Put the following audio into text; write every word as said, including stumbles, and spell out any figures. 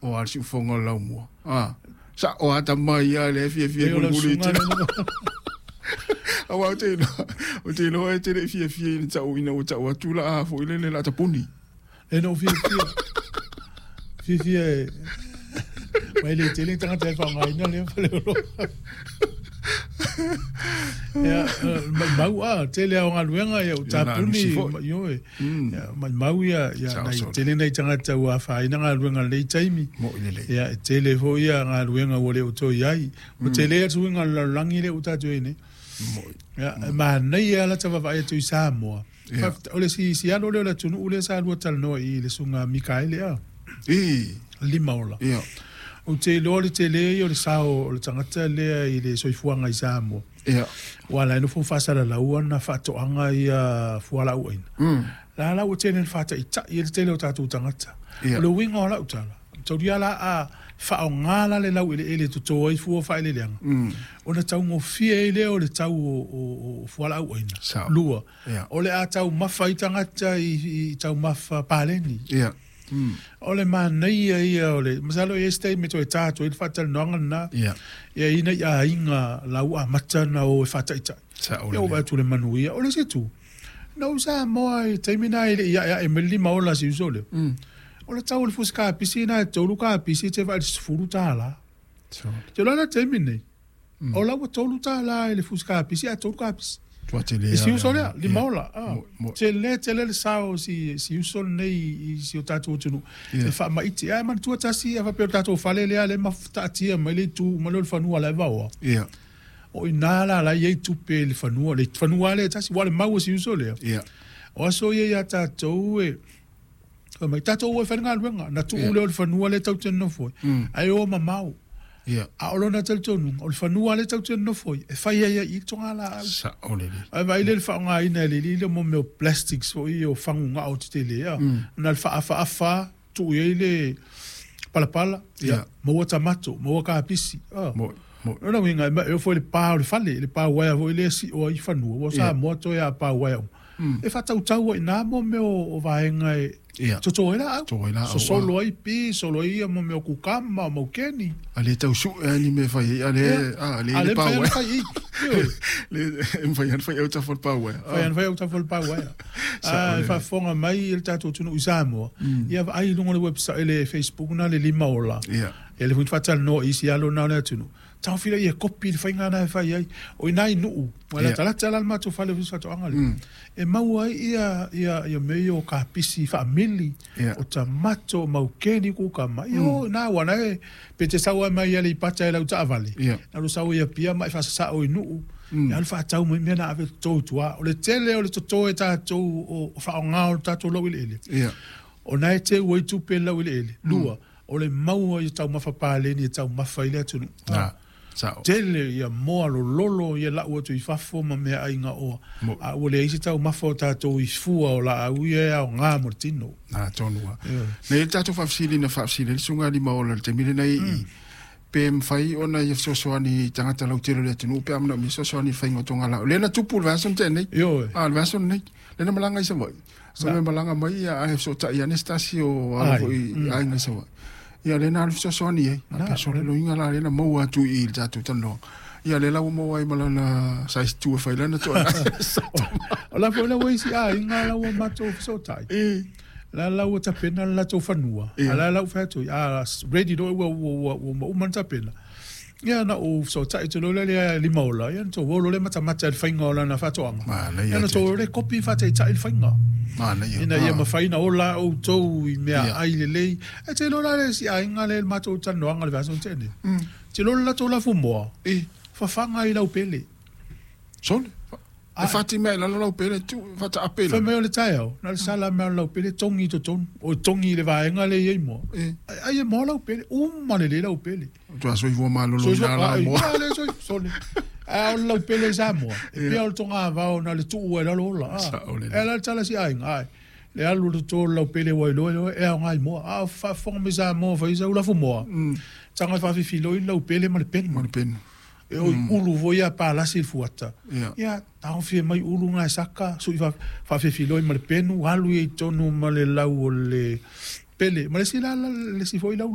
O a le siufofoga o le laumua. A, sa'o a tama ia le fiafia E o lau mulimuli susuga tele. Le Auā ou te iloa, ou te iloa e te le'i fiafia ina ta'u ina ua ta'u atu la'a foi lele la tapuni. E no fiafia. Fiafia e mai le tele tagata e faaaogaina lea faleoloa. Ia, maumau a, tele a o galuega ia ua Ia na tapuni alusi foi. ioe. Mm. Ia maumau ia ia Sao nai sole. Tele nai tagata ua afaina galuega i lenei taimi. Mo'i lelei. Ia e tele foi ia galuega ua le o toe ai. Ua tele atu suiga o le lalolagi lea ua tatou i ai nei. Mo'i. Ia, e manaia la ta vaavaai atu i Samoa. Ia. Faafetai- O le si si alo lea o le atunuu lea sa lua talanoa i le susuga Mikaele a. I. Lima ola. Ia. Ou te iloa le tele ia o le sao o le tagata lea i le soifuaga i Samoa. Ia. Ua ala ai ona fono faasalalau ana faatoaga ia fualaau aina. Mm. La la ua tele ina faataitai ai le tele o tatou tagata. Ia. O le uiga o lau tala, taulia la a faaaoga la le laueleele e toto ai fua o faaeleeleaga. Mm. Ona taugofie ai lea o le tau o, o, o fualaau aina. Sao. Lua, Ia. o le a taumafa ai tagata i, i taumafa paleni. Ia. Mm. O le manaia ia o le masalo e se taimi toe ta atu ai le faatalanoaga lena. Ia. Ia ina i aiga lau amata na o e faataitai. Sao Ia ua lelei. atu le manuia. O le isi itu, na ou Samoa i taimi na e le i aeae mai le lima ola si uso lea. Mm. O le tau o le fusi kapisi na e tolu kapisi e te vaai i le sefulu tālā. Sao. Te loa le taimi nei, Mm. o la ua tolu tālā i le fusi kapisi a tolu kapisi. Tua tele I si a uso lea. lea, lima Ia. ola. Ah. Mo- mo- Tele, tele le sao si, si uso lenei i si o tatou atunuu. Ia. E faamaiti. Ae manatua tasi, a faapea o le tatou fale lea lea e mafutaatia mai le itu ma le o le fanua la e vaoa. Ia. O i nā la la i ai tupe i le fanua, le fanua lea e tasi, ua le mau e si uso lea. Ia. O aso ia ia tātou e, fai mai, tātou e fai galuega, na tuu Ia. lea o le fanua lea tatou te nonofo ai. Mm. Ae o mamao. Ia. A o lona talitonuga, o le fanua lea tatou te nonofo ai, e fai ai ai i le togalaau. Sao lelei. Ae vaai lea le faaaogaina e le alii lea mo mea o plastics foi ia o fagugao tetele a. Mm. Na le faafaafa, tuu i ai le palapala, ia, Ia. maua tamato, maua kapisi. Ah. Mo'i. Mo'i. O lona uiga, e ma- e oo foi i le pa o le fale, le pa uaea foi lea e sio ai fanua, ua Ia. Samoa toe a pa uaea uma. Mm. E faatautau ai nā mo mea o o vaega e Ia. toto ai laau. Toto ai laau, Sosolo ai pi, solo ai ia mo mea o kukama, o maukeni. A le tau su'e a ni mea e fai ai, a le, a le A le le pa mafai ona uaea. fai i. Ioe. Le e mafai ona fai au tafa o le pa uaea. Fai ana fai au tafa o le pa uaea. Sao A lelei. e faafofoga mai le tatou atunuu i Samoa. Ia vaai i luga o le website le Facebook na le lima ola. Ia. Ia le foi faatalanoa i isi alo na o le atunuu. Taofia ia kopi le faiga na e fai ai. O ina i nuu. Ua Ia. latalata la le matou fale o faatoaga lea. Mm. E maua ai ia, ia, ia mea ia o kapisi faamili, Ia. o tamato, o maukeni kukama. Ia o nā ua e, pe te sau ai mai ia le ipata e lau taavale. Ia. Na lo sau ia pia ma e faasasao i nuu. Mm. Ia alu faatau mai mea na ave toto i tua. O le tele o le toto e tātou o, o faaaoga o le tatou laueleele. Ia. O na e teu ai tupe i le laueleele. Lua, o le maua i taumafa paleni e taumafa i le atunuu. Na. Sao. Tele ia moa lololo ia lau atu i fafo ma mea aiga oa. Mo- A ua leai se taumafa o tātou i fua o laau ia e aoga mo le tino. Na tonu a. Ioe. Nei le tatou faafesili na faafesili ai le susuga lima ola i le taimi lenei i pe mafai ona ia fesoasoani i tagata lautele o le atunuu pe a manaomia fesoasoani i le faiga o togalaau. Lea na tupu le vaiaso na tea nei. Ioe. A le vaiaso lenei. Lea na malaga i Savaii. Sa me malaga mai ia ae fesootai ane se tasi o alo Ai, foi mm. aiga i Savaii. Ia lea na alu fesoasoani ai. A Na. pe sole loiga la lea na maua atu i i le tatou talanoaga. Ia lea la ua maua ai ma lana size two e fai lana toa. O la foi la ua isi aiga la ua matou fesootai. E. La la ua tapena le latou fanua. Ia. A la la ua fai atu, a ready loa ua ua ua ua uma ona tapena. Ia na ou fesootai atu loa lea lima ola, ia na tou o loa le matamata i le faiga o lana faatoaga. Manaia Ia na tou o le kopi faataitai le faiga. Manaia. Ina ia Ah. mafai ona ola outou i mea Ia. ai lelei. E te iloa la le isi aiga lea i le matou talanoaga le vaiaso na tea nei. Mm. Te iloa le latou lafumoa, E. fafaga i laupele. Sole. E Ai. fati mea i lalo lau pele tu fataape i Fai lalo. mai o le taeao, na le sala mea o le laupele togi i totonu. O togi i le vaega lea i ai moa. E. Ai ai e moa laupele, uma lelei laupele. Tua soifua malolo Soifua- i nā la ai, moa. a, le soifua- sole. A o le laupele i Samoa. E pea o le togavao na le tuu ai lalo ola. Ah. Sao lelei. E ala le tala si aiga, ai. Le alu le toto o le laupele ua iloa iloa, e aoga i moa. A o faafofoga mai Samoa fai sau lafu moa. Mm. Taga e faafifiloi le laupele ma le penu. Ma le penu. E oi ulu foi ia palasi i le fuata. Ia. Ia, taofia mai ulu ngā e saka, sui fa- faafefiloi ma le penu, alu ia i tonu ma le lau o le pele. Ma le isi la, la- le isi foi lau